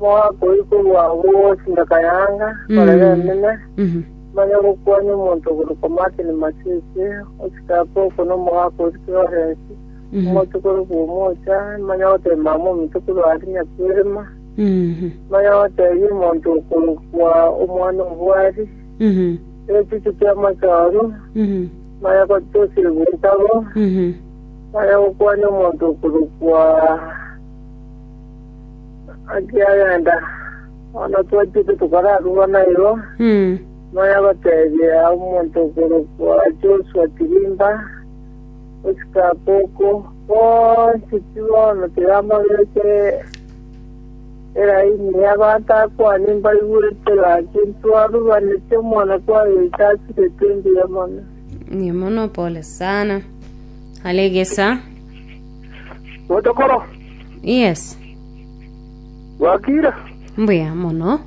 Omogaka oyio korwa agwo Sindaka Yanga, korera enene, manya gokwania omonto okorokwa Martin Masese, osike Apoko na omogaka oria Florence, omochokoro bw'omocha, manya gotebia mama ominto korwa aria Nyakwerema, manya gotebia omonto okorokwa omwana obwari, egechuchu ki'amachoru, manya gotosibwa ntabo, manya gokwania omonto okorokwa Akiagenda, bono twachete tokararugana igo, manya gotebia omonto okorokwa Joshua Tirimba, osike Apoko, bonsi pi bono tiga mbabeke eraini y'abanto akwani mbaigwete gaki ntwarubanete omwana kwagecha asirete mbuya mono. Mbuya mono, pole sana. Alegesa. Gotokoro. Yes. Bwakire? Mbuya mono.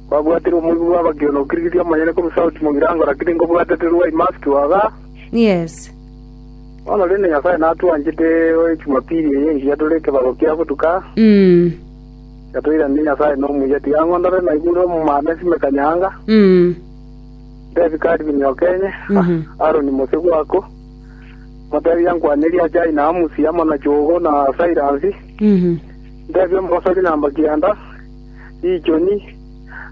Kwabwatire omoigwa bw'abakio na okirigirie omonyene korwa sauti mogirango, lakini nkobwatete rwa imaski waga. Yes. Bono rende Nyasae natwanchete Jumapili eye engiya tore ekebago kia botuka. Yatoiranire Nyasae nomuya. Tiga ng'ondore naigure omomanda simeka nyanga. Ntebi Calvin Okenye, Aaron Mose gwako. Motebie ankwanerie Ajai na Amusi amo na Jogo na Sairasi. Ntebie omogosori namba kianda, Richoni,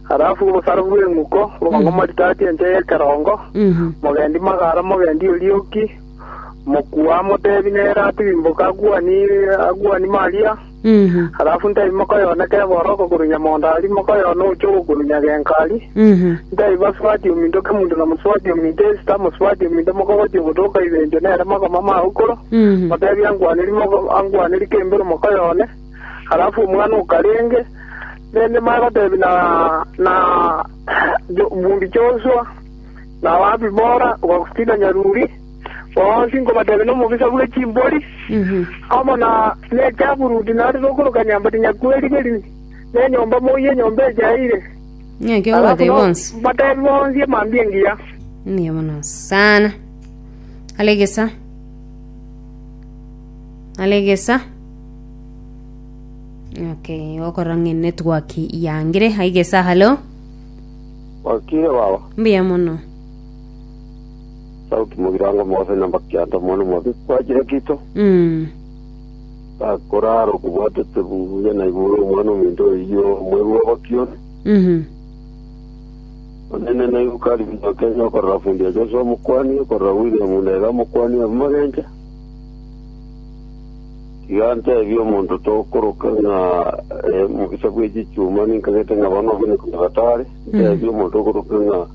halafu obosaro bw'eng'uko, bwango maritati ense y'ekerongo, mogendi magara, mogendi orioki, mokua motebi nere atirimboke aguani aguani Maria, halafu ntebi mokoyone keboroko korwa nyamondo aria, mokoyone ochogo korwa nyagenka aria, ntebi basubati ominto kemunto na mosubati ominto Esita, mosubati ominto mokogoti ogotoka ibencho nere makoma magokoro, motebi ankwaneri moko ankwaneri kembero mokoyone, halafu omwana okarenge, rende magotebi na na Jo bundi Joshua, na Abibora, Augustina Nyaruri, bonsi nkobatebia nomobisa bwe chimbori, amo na nechaburudi nare tokoroka nyambati nyakwerigeria, nenyomba moyio enyomba echaeire. Ng'aki Alafu okobatebia no bonsi. mbatebi bonsi emambia engiya. Mbuya mono sana. Alegesa. Alegesa. Okay, okorora ng'a network yangire. Aigesa, hello. Wakire baba. Mbuya mono. Sauti mogirango mose namba kianda mwana mwabe kwachire kito. Gakorara okobwatete buya na igoro omwana ominto oyio omwerwa obakione. Onene naigu kari binto Kenya okorora fundi ya Joshua omokwani okorora William Ndega omokwani abumagencha. Tiga ntebie omonto tokoroka ng'a eh, mobisa bwe chichuma ninkagete ng'a bono obone konya batare. Ntebie omonto okoroka ng'a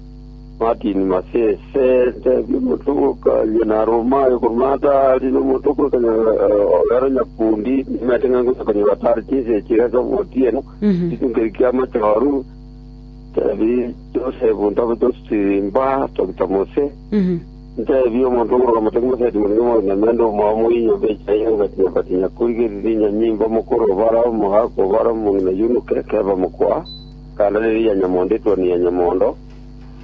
Martin Masese, ntebie omonto okoroka Nyaromayo korwa Matari, na omonto okoroka Ogero Nyakundi, nimanyete ng'a ngocha konya batare chinsa echi iga ase obotieno, chitunga kia amachoru, ntebi Joseph Ntobe Josirimba, Dr. Mose, Nteebie omonto okoroka motegi moseti morenge moiname ande omwao moinyombe echaye ogatinya batinya korigereria enyanyimba omokoro obara omogaka obara omong'ina yunuke keba mokwa kanda reri ya nyamondo etuoni ya nyamondo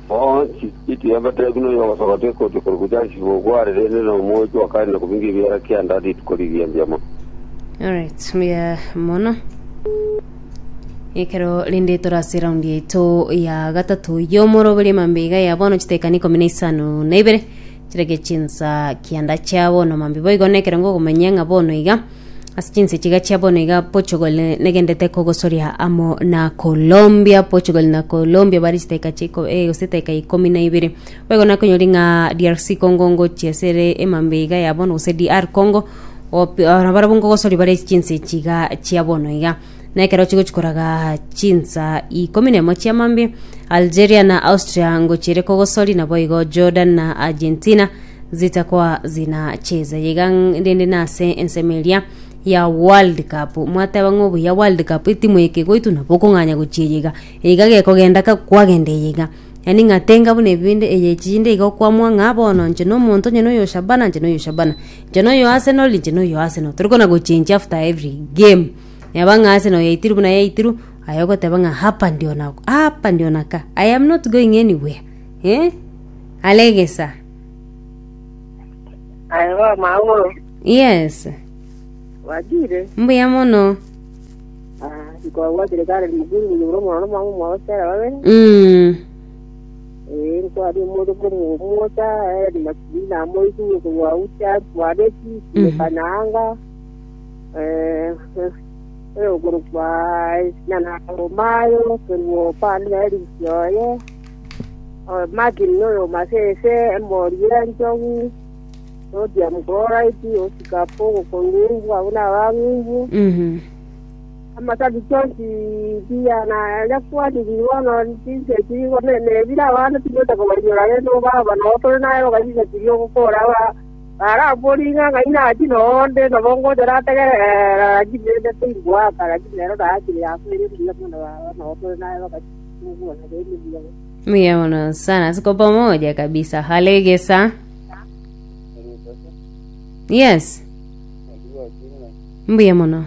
bonsi itiga mbatebi noyo ogosogotia ekoti korwa Charles Bogware rende na omwochi wa kare na kobinga ebiara kianda rituko rigiya mbuya mono. Alright, mbuya mono. Ekero rende tore ase eraundi yaito ya gatato y'omoroberi mambia iga ya bono chitekani ikomi na isano na ibere chireke chinsa kianda chia bono mambia boigo na ekero ngokomanyia ng'a bono iga ase chinsa echi iga chia bono iga Portugal negendete kogosoria amo na Colombia Portugal na Colombia bare chidakika chiko eh, gose edakika ikomi na ibere boigo nakonyori ng'a DRC Congo ngochia ase ere emambia iga ya bono gose DR Congo opi nabarabwo nkogosoria bare chinsa echi iga chia bono iga. Na ekero chigochi koraga chinsa ikomi nemo chia mambia, Algeria na Austria ngochiere kogosori, naboigo Jordan na Argentina zitakoa zinacheza. Iga rende nase ensemo eria ya World Cup mwateba ng'a obuya World Cup etimu eke egoitwa nabo okong'anya gochia eye iga, iga gekogenda ka kwagenda eye iga. Yaani ng'a tenga buna ebinde eye chinde iga okoamua ng'a bono inche na omonto onye na oyo Shabana inche na oyo Shabana, inche na oyo Arsenal inche na oyo Arsenal. Tori kona gochenji after every game. Neba ng'a Arsenal yaitirwe buna yaitirwe, aye ogoteba ng'a hapa ndio na hapa ndio nakaa, I am not going anywhere eh, Alegesa. Aye bono magoro, Yes, bwakire? mbuya mono. Ah. Nkwabwatire Karen Mukuru muyubure omwana na omwamo omwabo Stella babere. Ee, nkwari omoto korwa omocha, Helen Makiri namoigure korwa Ucha, Twareti, Mekanaanga, oyokorokwa Nana Omayo, korwa Opande na Eric oye, Martin noyo Masese, Emori y'Enchogu, Sodium chloride, Oscar Pogo korwa Ng'umbu, abwo nabang'umbu. Amasabiki onsi buya na yakwanire bono chinse echi igo nebire abana tigocha kobainyora rende obaba nabo tore naye oga chinse chiria ogokora barambori ng'a ng'ai nachi nonde nabo ngocha nategerera lakini rende tingoaka lakini rero naachire yasoire mbuya mono baba nabo tore naye baka togokwana rende mbuya mono. Mbuya mono sana, tuko pamoja kabisa. Halegesa. Yes. Mbuya mono.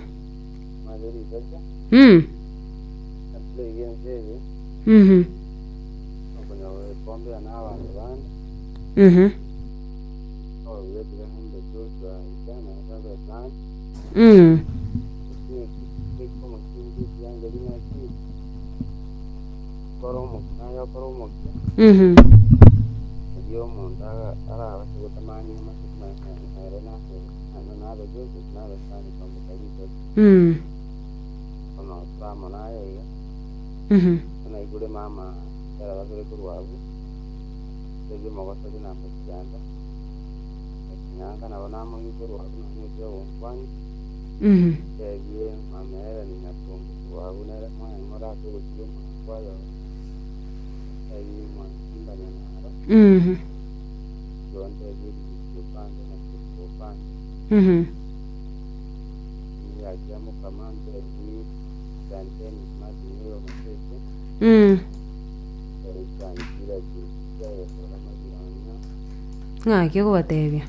Ng'aki okobatebia?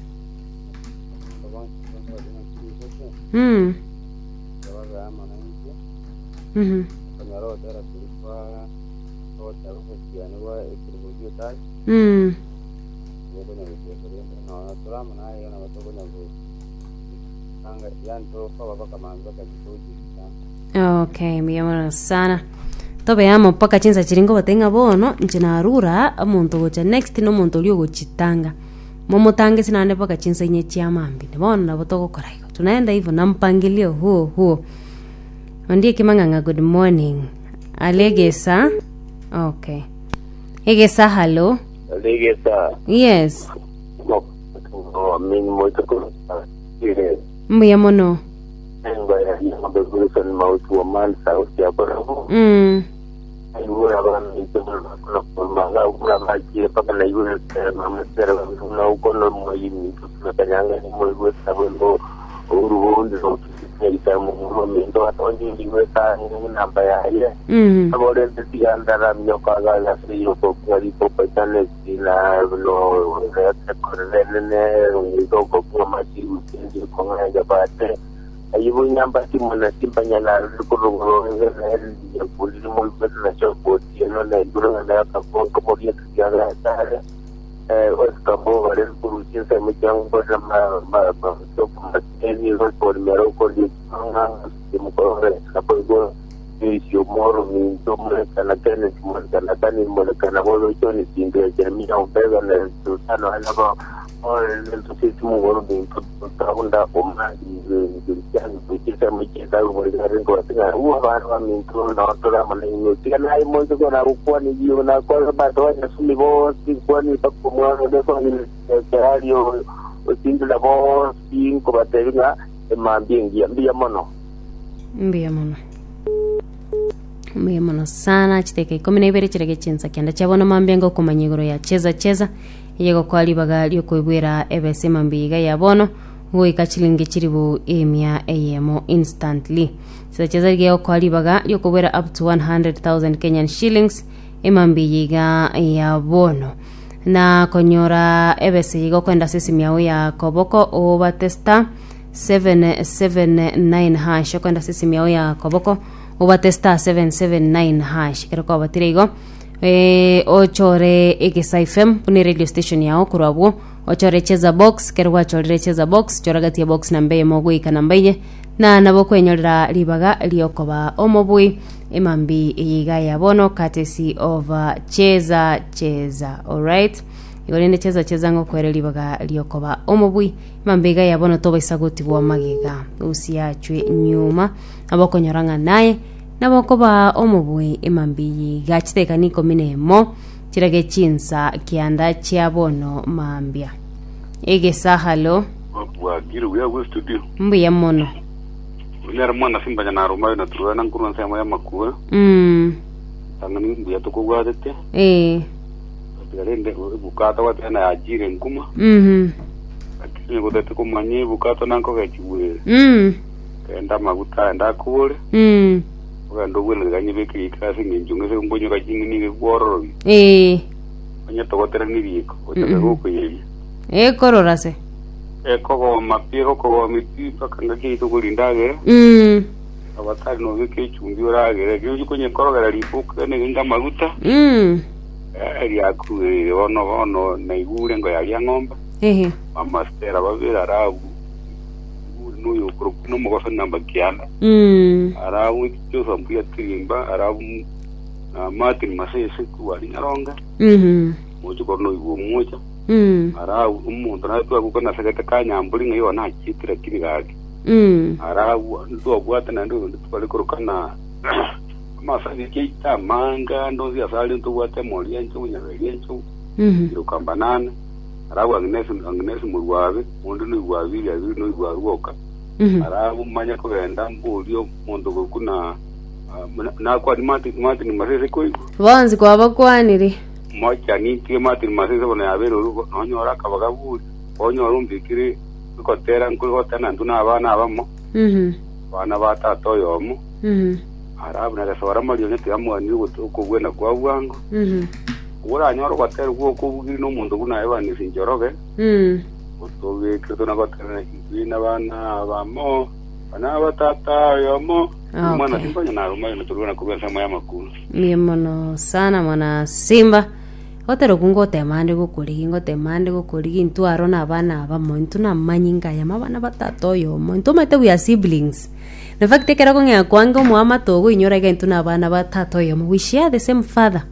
Okay, mbuya mono sana. Tobe amo mpaka chinsa chiria ngobatebia ng'a bono inche narure aa, omonto ogocha next na omonto oria ogochitanga. Momotange ase naende mpaka chinsa inye chia mambia. Bono nabo togokora igo. Tunaenda hivyo na mpangilio huo huo. Ondieki mang'ang'a good morning. Alegesa. Okay. Egesa hello. Alegesa. Yes. Min moito Mbuya mono. Wilson Mauti wa Man South ya Borabu. Aigure abana maga bakire paka naigure mamasera na uko no moyimi kanyanga ni moigwe sabo ngo urubundi no itamu mu minto atonji igwe ta namba yaye abore ndigandara myoka ga siro ko kwari ko patane na no rekorene ndo ko kuma machi usinzi ko ngaja bate ayibo nyamba timona timbanyana rukuruguru ya puli mo na choko tieno na iguru na ka ko ko mo ya ga tare Oscar Bo bare kuru chinsa mo chango na ma ma ma to ma teni ro por mero ko di nga mo ko re ka po go isio moro mi to mo kana kene mo kana kani mo kana bo lo choni tindo Jeremia Ombega na Sultano ana ko o el to si mo go mi to ta o ma ni kuchisa muchisa kumurikare kuwatinga uwa vanhu vamintu nawatora mana tika naye muntu kona kukwani jiyo na kwa bato wanyasumi bosi kwani pakumwana defo ni osindula bosi nkobatevinga emambi ngiya mbiya mono Mbuya mono. Mbuya mono sana chiteka ikumi na ibere chirege chinsa kianda chiabono mambia ngokomanya igoro ya cheza cheza eye gokwa ribaga riokoibwera ebese mambia iga ya bono goika chilingi chiribu emia eyemo instantly. Cheza cheza riga gokwa ribaga riokobwera up to 100,000 Kenyan shillings emambia iga ya bono na konyora ebese igo kwenda ase esimu yago ya koboko obate star 779 hash okwenda ase esimu yago ya koboko obate star 779 hash ekero kwabatire igo ochore Egesa FM buna radio station yao korwa abwo ochore cheza box kero gwachorire cheza box chora gati ya box namba eyemo goika namba inye. Na nabo okwenyorera ribaga riokoba omobui emambi eye iga ya bono courtesy of Cheza Cheza. Alright. Igo rende Cheza Cheza ngokwere ribaga riokoba omobui emambi iga ya bono tobaisa gotigwa magega usiachwe nyuma nabo okonyora ng'a naye nabo okoba omobui emambi eye iga chitekani ikomi na emo chirage chinsa kianda chia bono mambia. Egesa halo. Bwakire buya agwo estudio. Mbuya mono. Oyo nere mwana Simba Nyanarumayo na Turwena nkorwa ensemo y'amakura. Tang'ani mbuya tokobwatete. Tiga rende ebukato gwateba na yachire nkuma. Lakini gotete komanya ebukato nankogechigwa ere. Genda amaguta aye ndakobore. Ogende obwene tiga nyebeke riko ase eng'encho ng'ese nkonyoka ching'eni nigo ekwororobia. Onye togoterania riko, gochaka gokoyeria. Ekorora se. Ekogoma pi, egokogomia pi mpaka ngaki yaito korindagera. Abatari nobeke echumbi oragere. Ekero ochia konyekorogera riko okene genge amaguta. Riakugeire bono bono naigure engo yaria ng'ombe. Mama Stella babere arabu. Naigure noyo okorokwa nomogoso namba kianda. Arabu Joseph Mbuya Tirimba arabu na Martin Masese korwa aria Nyaronge. Mochie korwa noigwa omocha. Ara omonto naye twagoka nasegete kanyambori ng'a igo nachiete lakini gaki. Ara ntwabwate naende oyonde tware koroka na amasabiki aito amange ande onsi ase are ntobwate emori enchogu nyaberi enchogu iroka mbanane ara abwo Agnes Agnes morwabe onde noigwa abiri abiri noigwa arwoka ara abwo manye kogenda mborie omonto okorokwa na nakwani Martin Martin Masese koigwa. Bonsi kwabakwanire. Mochanitie Martin Masese bono yabeire orugo nonyore akabaga buri onyore ombikire egotera nkogotera nantwe na abana abamo abana ba tata oyomo Arabu na gesora marionya tiamwanire okobwena kwa bwango oranyore ogotera gw'okobugiri nomonto buna Evans Njoroge otobekire tona gotera intwe nabana abamo abana ba tata oyomo Mwana Simba nyana aruma yona turwana korwa ensemo y'amakuru. Mbuya mono sana mwana Simba. Gotera okwo ngotema ande gokorigi ngotema ande gokorigi intwe aro na abana abamo intwe namanyi ngayama abana ba tata oyomo intwe omanyete we are siblings. In fact ekero okong'ea kwange omoamate ogo inyora iga intwe na abana ba tata oyomo we share the same father.